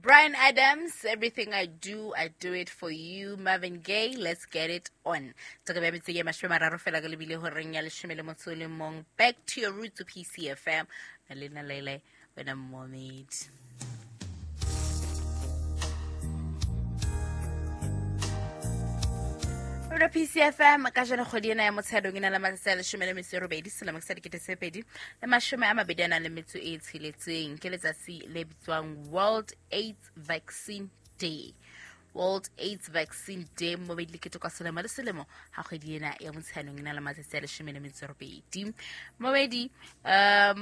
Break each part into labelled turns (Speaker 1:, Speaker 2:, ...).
Speaker 1: Bryan Adams, "Everything I Do, I Do It For You." Marvin Gaye, "Let's Get It On." Tsaka bya metsi ya 30 fela ka lebile horeng ya 11. Back to your roots, PCFM. Na lena lele wena momedi. Rona PCFM ka jeno kgwedi ena ya Motsheanong e na le matsatsi a 18 selemo sa 2026. Ke letsatsi le bitswang World AIDS Vaccine Day. World AIDS Vaccine Day mo le ketekwa selemo le selemo ha kgwedi ena ya Motsheanong e na le matsatsi a 18. Momedi, ka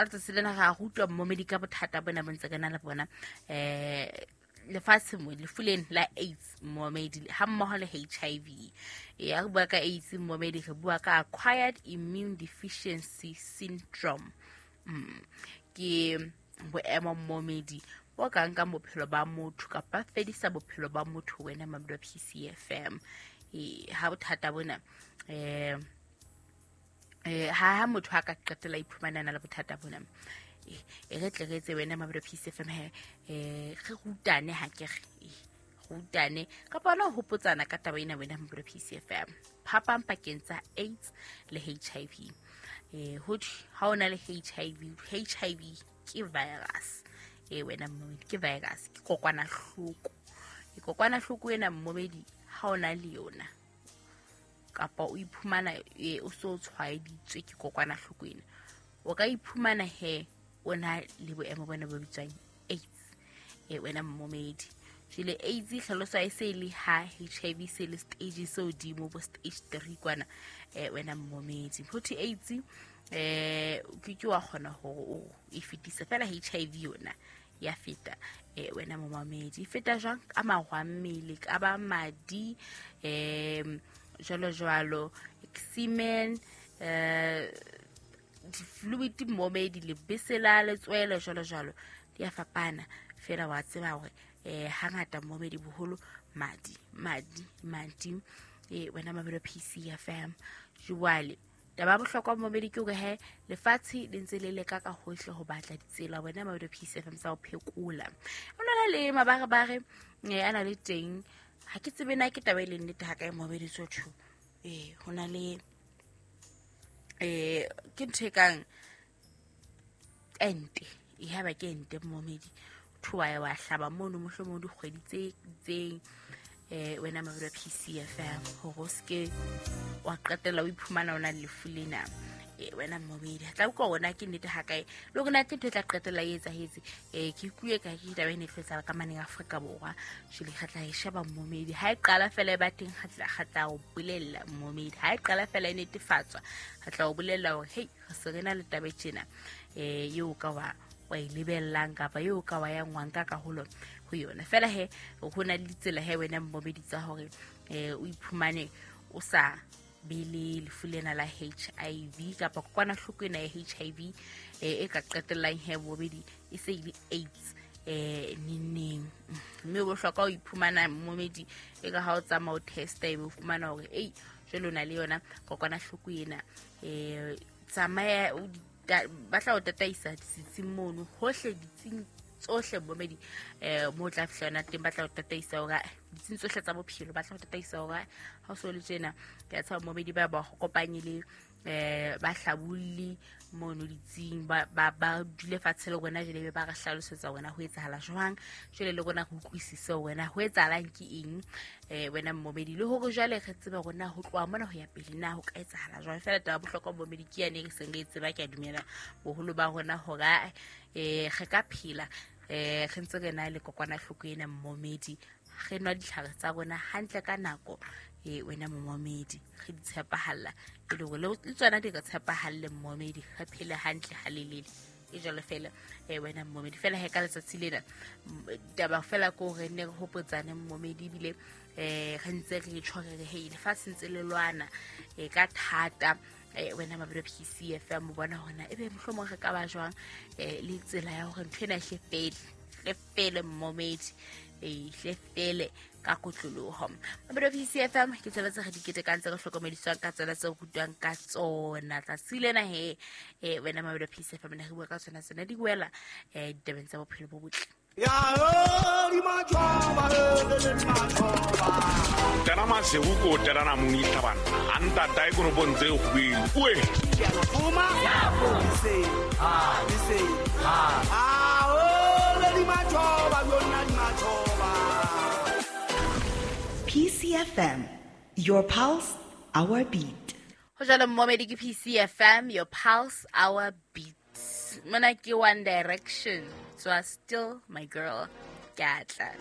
Speaker 1: letsatsi lena ga go utlwa momedi ka bothata bona bo ntse ke na le bona lefatshe mo lefu lena la AIDS momedi ha mmoho le HIV. Ya re bua ka AIDS momedi, re bua ka acquired immune deficiency syndrome. Ke boemo momedi bo ka nkang bophelo ba motho kapa fedisa bophelo ba motho wena mamedi wa PCFM. Ha bothata bona ha motho a ka qetela iphumana na le bothata bona, e re tle re etse wena mamedi wa PCFM he re rutane, ha ke re rutane kapa hona ho hopotsana ka taba ena wena mamedi wa PCFM, phapang pakeng tsa AIDS le HIV. Ho thwe ha o na le HIV, HIV ke virus wena mmomedi, ke virus, ke kokwanahloko. Kokwanahloko ena mmomedi ha o na le yona kapa o iphumana o so tshwaeditswe ke kokwanahloko ena, o ka iphumana he o na le boemo bona bo bitswang AIDS wena mmomedi. Jwale AIDS e hlaloswa e se le ha HIV se le stage se hodimo, bo stage 3 kwana wena mmomedi. Ho thwe AIDS o ke ke wa kgona hore o e fetise, fela HIV yona ya feta wena momamedi. E feta jwang? Ka marwa mmele, ka ba madi, jwalo jwalo, semen, di-fluid momedi, lebese la letswele, jwalo jwalo, di a fapana. Fela wa tseba hore hangata momedi boholo madi madi madi wena mamedi wa PCFM. Jwale taba ya bohlokwa momedi ke hore he lefatshe le ntse le leka ka hohle ho batla ditsela wena mamedi wa PCFM tsa ho phekola. O na le mabarebare a na le teng, ha ke tsebe na ke taba e leng nnete ha kae momedi tsotho. Ho na le ke ntho e kang ente, e haba ke ente momedi, thwa ya wa hlaba mono mohlomong dikgwedi tse itseng wena mamedi wa PCFM, hore o seke wa qetella o iphumana o na le lefu lena wena momedi. Tla utlwa hore na ke nnete ha kae le hore na ke ntho e tla qetella e etsahetse. Ke ikutlwe ka ke taba e ne e tlo etsahala ka maneng Afrika Borwa. Jwale re tla e sheba momedi ha e qala fela e ba teng, re tla o bolella momedi. Ha e qala fela e netefatswa, re tla o bolella hore hei re se re na le taba e tjena eo ka wa e lebellang kapa eo ka wa yang wa nka karolo ho yona. Fela he ho na le ditsela he wena mmomedi tsa hore o iphumane o sa be le lefu lena la HIV kapa kokwanahloko ena ya HIV e ka qetellang he bobedi e se e le AIDS neneng. Mme o bohlokwa ho iphumana mmomedi e ka ha o tsamaya o testa ebe o fumana hore ei jwale o na le yona kokwanahloko ena. Tsamaya ba tla o tataisa setsing mono hohle, ditsing tsohle mmomedi mo tla fihla yona teng, ba tla o tataisa hore ditsing tsohle tsa bophelo ba tla o tataisa hore ha o so le tjena. Ke a tshaba mmomedi ba ba kopanye le ba hlabolli mono ditsing, ba dule fatshe le rona jwale, be ba re hlalosetsa wena ho etsahala jwang, jwale le rona re utlwisise wena ho etsahalang ke eng wena mmomedi, le hore jwale re tsebe rona ho tloha mona ho ya pele na ho ka etsahala jwang. Fela taba bohlokwa mmomedi ke yane re seng re e tseba, ke a dumela boholo ba rona hore re ka phela re ntse re na le kokwanahloko ena mmomedi, re nwa ditlhare tsa rona hantle ka nako wena momamedi, re di tshepahalla e le hore le tsona di re tshepahalle mmomedi, re phele hantle halelele e jwalo fela wena mmomedi. Fela he ka letsatsi lena taba fela ke hore ne re hopotsane mmomedi, ebile re ntse re tjho re re hei lefatshe ntse le lwana ka thata wena mamedi wa PCFM. O bona hona ebe mohlomong re ka ba jwang le tsela ya hore ntho ena e hle fele, hle fele mmomedi, hle fele ka kotloloho. Mamedi wa PCFM, ke tsela tse re di ketekang, tse re hlokomediswang ka tsona, tse rutwang ka tsona tsatsi lena he wena mamedi wa PCFM, ne re bua ka tsona tsena di wela ditabeng tsa bophelo bo botle.
Speaker 2: Tena masego ko o telana monitha banna a ntata e konopong tse kgobeng oe.
Speaker 3: PCFM, your pulse, our beat.
Speaker 1: Go jalo mmomedi, ke PCFM, your pulse, our beat. Mona ke One Direction, so I Still My Girl. Ke atla.